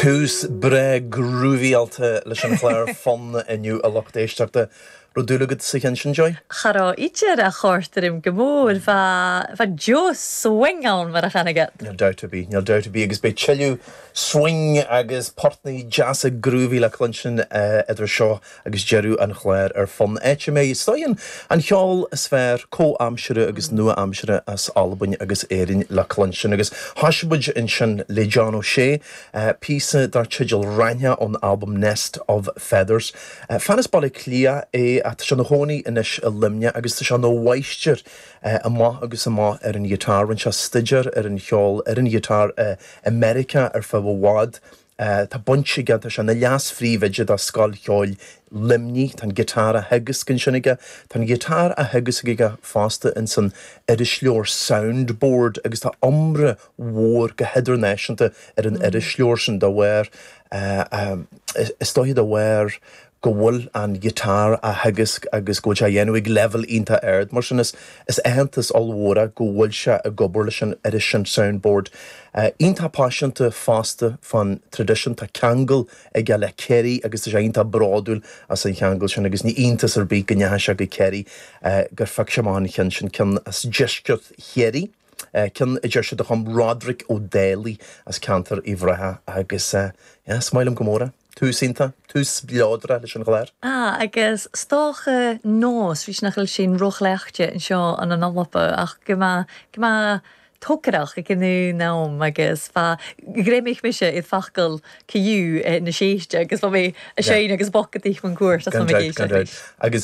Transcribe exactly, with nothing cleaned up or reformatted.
Tús breá groovy-áilte leis an chlár Fonn inniu, a lucht éisteachta. Raibh dúil agat sa cheann sin, Joy? Cha raibh idir a chortarim go mór bha jo swing ann mar a chanaige. Níl dabht ar bith, níl dabht ar bith, agus beidh tuilleadh swing agus portaí deasa groovy le cluinstin idir seo agus deireadh an chláir ar Fonn. Áit a mbeidh stoin an cheol is fearr comhaimseartha agus nua-aimseartha as Albain agus Éirinn le cluinstin, agus thosaigh muid ansin le John O'Shea, píosa dar teideal Raithneach ón albam Nest of Feathers. Fear as Baile Átha Cliath é, tá sé ina chónaí anois i Luimneach agus tá sé ina mháistir amach agus amach ar an ghiotár. Rinne sé staidéar ar an cheol ar an ghiotár i Meiriceá ar feadh i bhfad. Tá baint aige, tá sé ina leas-phríomhoide do Scoil Cheoil Luimnigh, tá an giotár á theagasc ansin aige. Tá an giotár á theagasc aige fosta in san irisleabhar Soundboard agus tá iomrá mhór go hidirnáisiúnta ar an irisleabhar sin dá bharr, is dóiche dá bharr go bhfuil an giotár á theagasc agus go bhfuil sé á dhéanamh ag leibhéal iontach ard. Mar sin is is aitheantas ollmhór é go bhfuil sé ag obair leis an iris sin Soundboard. Iontach paiseanta fosta fán traidisiún, tá ceangal aige le Ciarraí agus tá sé iontach bródúil as an cheangal sin agus ní iontas ar bith go ndeachaigh sé go Ciarraí gur phioc sé amach an cheann sin, ceann as deisceart Chiarraí. Ceann a deir siad a chum Roderick Ó Dálaigh as ceantar Uíbh Ráthach agus yeah, is maith liom go mór é. Tús iontach, tús spleodrach leis an gclár. Ah, agus 's dócha nós, bhí nach bhfuil sin róchleachta anseo an an Alba ach go mba go mba tócaireach ag an am agus fa ghréimich mise iad focail ciú na séiste agus bha mé a sein agus bocadaí an cuairt. Agus